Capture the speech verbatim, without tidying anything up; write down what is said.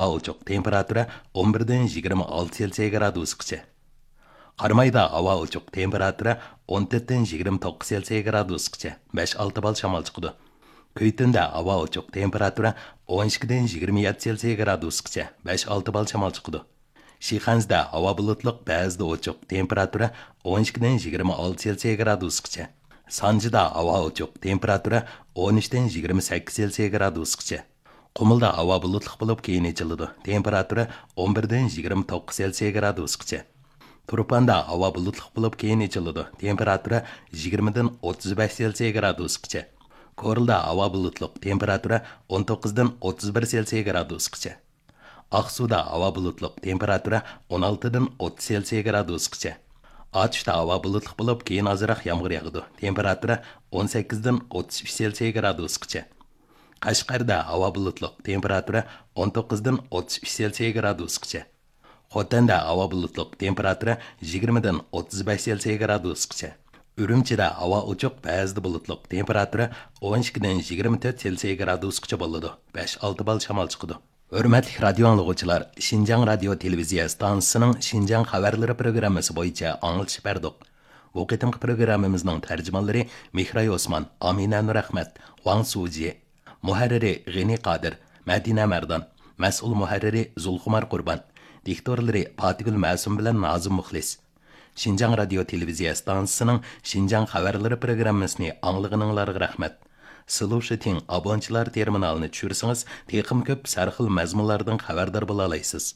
ئوچۇق، تېمپېراتۇرا ئون بىردىن يىگىرمە ئالتە سېلسىيە گرادۇسقىچە. قارامايدا ھاۋا ئوچۇق، تېمپېراتۇرا ئون تۆتتىن يىگىرمە توققۇز سېلسىيە گرادۇسقىچە، بەش ئالتە بال شامال چىقىدۇ. كۈيتۈندە ھاۋا ئوچۇق، تېمپېراتۇرا ئون ئىككىدىن يىگىرمە يەتتە سېلسىيە گرادۇسقىچە، بەش ئالتە بال شامال چىقىدۇ. شىخەنزىدە ھاۋا بۇلۇتلۇق، بەزىدە ئوچۇق، تېمپېراتۇرا ئون ئىككىدىن يىگىرمە ئالتە سېلسىيە گرادۇسقىچە. سانجىدا ھاۋا ئوچۇق، تېمپېراتۇرا ئون ئۈچتىن يىگىرمە سەككىز سېلسىيە گرادۇسقىچە. قۇمۇلدا ھاۋا بۇلۇتلۇق بولۇپ، كېيىن ئېچىلىدۇ، تېمپېراتۇرا ئون بىردىن يىگىرمە توققۇز سېلسىيە گرادۇسقىچە. تۇرپاندا ھاۋا بۇلۇتلۇق بولۇپ، كېيىن ئېچىلىدۇ، تېمپېراتۇرا يىگىرمىدىن ئوتتۇز بەش سېلسىيە گرادۇسقىچە. كورلىدا ھاۋا بۇلۇتلۇق، تېمپېراتۇرا ئون توققۇزدىن ئوتتۇز بىر سېلسىيە گرادۇسقىچە. ئاقسۇدا ھاۋا بۇلۇتلۇق، تېمپېراتۇرا ئون ئالتىدىن ئوتتۇز سېلسىيە گرادۇسقىچە. ئاتۇشتا ھاۋا بۇلۇتلۇق بولۇپ، كېيىن ئازراق يامغۇر ياغىدۇ، تېمپېراتۇرا ئون سەككىزدىن ئوتتۇز ئۈچ سېلسىيە گرادۇسقىچە. قەشقەردە ھاۋا بۇلۇتلۇق، تېمپېراتۇرا ئون توققۇزدىن ئوتتۇز ئۈچ سېلسىيە گرادۇسقىچە. خوتەندە ھاۋا بۇلۇتلۇق، تېمپېراتۇرا يىگىرمىدىن ئوتتۇز بەش سېلسىيە گرادۇسقىچە. ئۈرۈمچىدە ھاۋا ئوچۇق، بەزىدە بۇلۇتلۇق، تېمپېراتۇرا ئون ئىككىدىن يىگىرمە تۆت سېلسىيە گرادۇسقىچە بولىدۇ، بەش ئالتە بال شامال چىقىدۇ. ھۆرمەتلىك رادىيو ئاڭلىغۇچىلار، شىنجاڭ رادىيو تېلېۋىزىيە ئىستانسىسىنىڭ شىنجاڭ خەۋەرلىرى پروگراممىسى بويىچە ئاڭلىتىش بەردۇق. بۇ قېتىمقى پروگراممىمىزنىڭ تەرجىمانلىرى مېھراي ئوسمان، ئامىنە نۇرئەخمەت، ۋاڭ سۇجى. مۇھەررىرى غېنى قادىر، مەدىنە مەردان. مەسئۇل مۇھەررىرى زۇلخۇمار قۇربان. دىكتورلىرى پاتىگۈل مەسۇم بىلەن نازىم مۇخلىس. شىنجاڭ رادىيو تېلېۋىزىيە ئىستانسىسىنىڭ شىنجاڭ خەۋەرلىرى پروگراممىسىنى ئاڭلىغىنىڭلارغا رەھمەت. سلۇشىتىڭ ئابونچىلار تېرمىنالىنى چۈشۈرسىڭىز، تېخىمۇ كۆپ سەرخىل مەزمۇنلاردىن خەۋەردار بولالايسىز.